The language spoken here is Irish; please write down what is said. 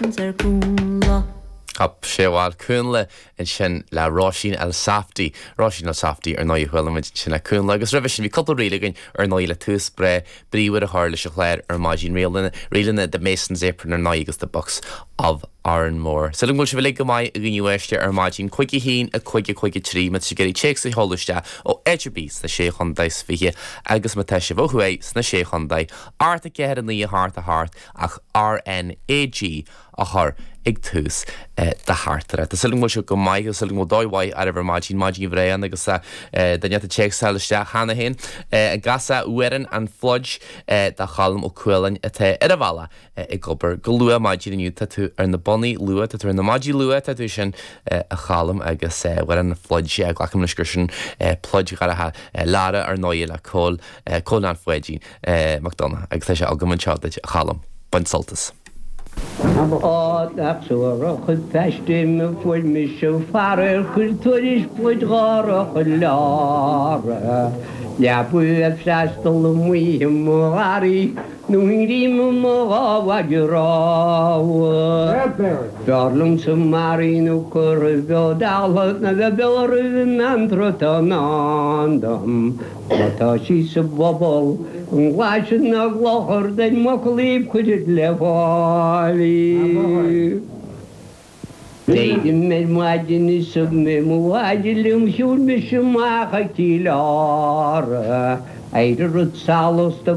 Masons ar Cúnla. Hop, sé bhal Cúnla ansin le Róisín Elsafty. Róisín Elsafty ar ndóigh a chuala muid ansin le Cúnla agus roimhe sin bhí cúpla ríl againn ar ndóigh le tús breá bríomhar a chur leis an chlár ar maidin. Ríleanna The Mason's Apron ar ndóigh agus The Bucks of Oranmore. Súil agam go bhfuil sibh uilig go maith a dhaoine uaisle ar maidin. 5 1 5 5 3 má tá sibh ag iarraidh téacs a sheoladh isteach ó áit ar bith sna Sé Chontae is 20 agus má tá sibh ó thuaidh sna Sé Chontae, 8 4 9 8 8 ach RNAG a chur ag tús do theachtaireachta. Tá súil agam go bhfuil sibh go maith, tá súil agam go bhfuil dóigh mhaith oraibh ar maidin, maidin bhreá ann agus duine ata téacsáil isteach cheana féin. An gcasfá Amhrán an Phluid do Cholm Ó Cualáin atá ar a bhealach ag obair go luath maidin inniu. Tá tú ar na bonnaí luath, tá tú ar na maidí luath, tá tú sin a Cholm agus Amhrán an Phluid, glacaim leis gur sin pluid dheartháir Lara ar ndóigh le Cóil, Cóil Nan Pháidín Mac Donncha agus tá sé agam anseo duit a Cholm. Bain sult as. Á, nach suarach an phaiste a fuair mise faraor chuir tuairisc pluid dhárach i Lára. Leabaidh ag freastal amuigh i mo gharraí. Nó i ngreim i mo ghabha rámha. B'fhearr liomsa maraithe nó curtha beo dalltha ná bheith beo roimh an antra atá i ndán dom. Má tá sí sa bpobal, an glaise ná gclochar den mhuclaíbh cuirid le fáil í. D'éirigh mé ar maidin is thug mé mo mhaide liom shiúil mise amach go Cill Ára. Éirigh rud salus do.